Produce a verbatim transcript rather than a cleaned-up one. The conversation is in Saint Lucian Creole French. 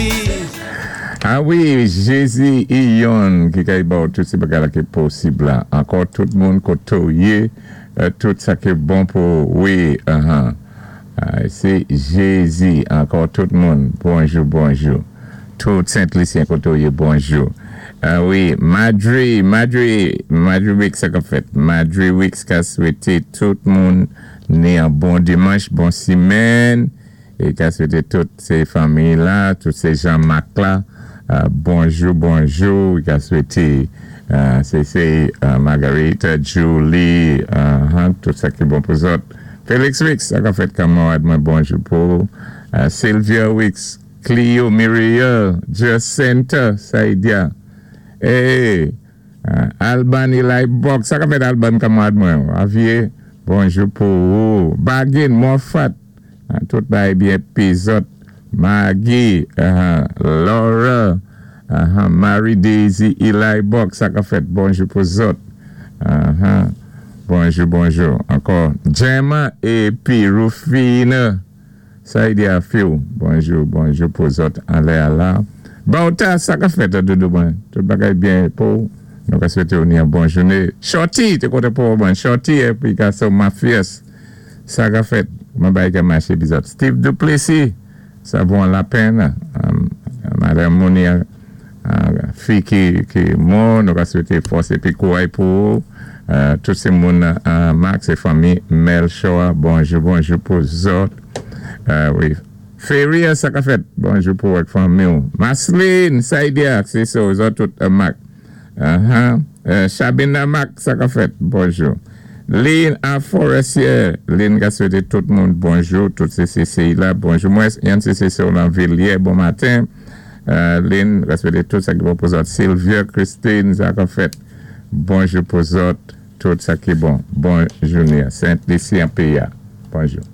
Jézi. A wi, Jézi i youn ki kay ba tout sé bagay-la ki posib la. Ankò tout moun koto yé, euh, tout sa ki bon pou wi, uh-huh. Ah, sé Jézi, ankò tout moun. Bonjou, bonjou. Tout Sent-Lisyen koto yé, bonjou. A wi, Madri, Madri, Madri Weeks sa ka fèt. Madri Weeks ka swété tout moun ni an bon dimanch, bon simenn, é ka swété tout sé fanmi la, tout sé Jean-Marc la, euh, bonjou, bonjou, i ka swété euh, sé sé euh, Margarita, Julie, uh-huh, tout sa ki bon pou zòt. Félix Weeks, sa ka fèt kanmarad mwen, bonjou pou euh, Sylvia Weeks, Clio, Muriel, Jacinta, Saidia, hey, uh, Alban Eli Box, sa ka fèt Alban kanmarad mwen, Avier, bonjou pou ou. Bagin, Moffat, uh, tout bagay byen pi zòt, Maggie, uh, Laura, uh, Mary Daisy, Eli Box, sa ka fèt, bonjou pou zòt. Uh-huh. Bonjou, bonjou. Ankò, Gemma épi Rufina. Sa i di a fiw. Bonjou, bonjou pou zòt anlè a la. Bauta, sa ka fèt doudou mwen. Tout bagay byen pou. Nou ka swété ou ni an bon jouné. Shorty, té koté pou mwen. Shorty, épi ka so Mafias. Sa ka fèt. Mwen bay ka maché pi zòt. Steve Duplessis. Sa vo la pèn. Um, Madame Monia, uh, fi ki, ki mò, nou ka swété fòs épi kouray pou ou. Uh, tout sé moun uh, Max é fanmi Melchor, bonjou, bonjou pou zòt. Uh, wi. Feria, sa ka fèt, bonjou pou ak fanmi ou. Masline, Saidia, sé so, zòt tout uh, Mac. Uh-huh. Uh, Chabina Mac, sa ka fèt, bonjou. Lynn a Forestier, Lynn ka swété tout moun bonjou, tout C C C la, bonjou. Mwen, yon C C C ou nan Villiers, bon maten. Uh, Lynn, ka swété tout sa ki bon pou zòt. Sylvia, Christine, sa ka fèt, bonjou pou zòt, tout sa ki bon. Bon jouné. Saint-Lucie en P A. Bonjou.